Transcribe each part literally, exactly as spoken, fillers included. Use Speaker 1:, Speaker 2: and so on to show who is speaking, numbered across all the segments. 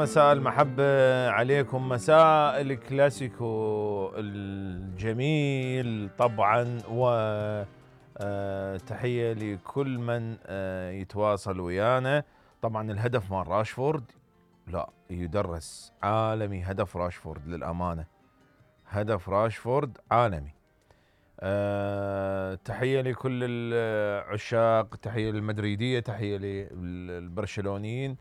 Speaker 1: مساء المحبة عليكم، مساء الكلاسيكو الجميل طبعا، وتحية لكل من يتواصل ويانا. طبعا الهدف مال راشفورد لا يدرس، عالمي هدف راشفورد للأمانة، هدف راشفورد عالمي. أه تحية لكل العشاق، تحية للمدريدية، تحية للبرشلونيين،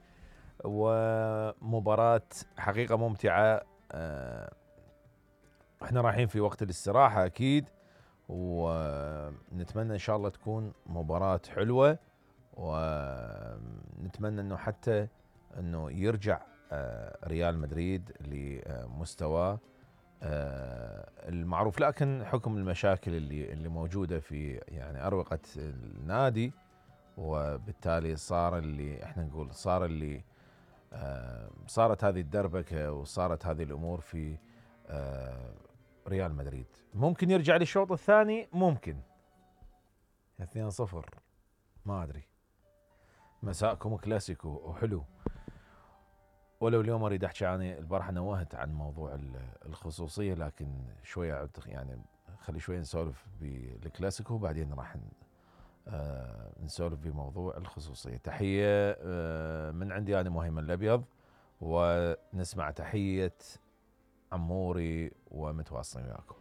Speaker 1: ومباراة حقيقة ممتعة. أه احنا رايحين في وقت الاستراحة اكيد، ونتمنى ان شاء الله تكون مباراة حلوة، ونتمنى انه حتى انه يرجع أه ريال مدريد لمستواه أه المعروف، لكن حكم المشاكل اللي اللي موجودة في يعني أروقة النادي، وبالتالي صار اللي احنا نقول صار اللي آه صارت هذه الدربكة وصارت هذه الأمور في آه ريال مدريد. ممكن يرجع للشوط الثاني، ممكن اثنين صفر، ما أدري. مساءكم كلاسيكو وحلو. ولو اليوم أريد أحكي عن البارحة، نوهت عن موضوع الخصوصية، لكن شوية يعني خلي شوية نسولف بالكلاسيكو وبعدين راح آه نسولف بموضوع الخصوصية. تحية آه من عندي أنا مهيمن الأبيض، ونسمع تحية عموري ومتواصلين وياكم.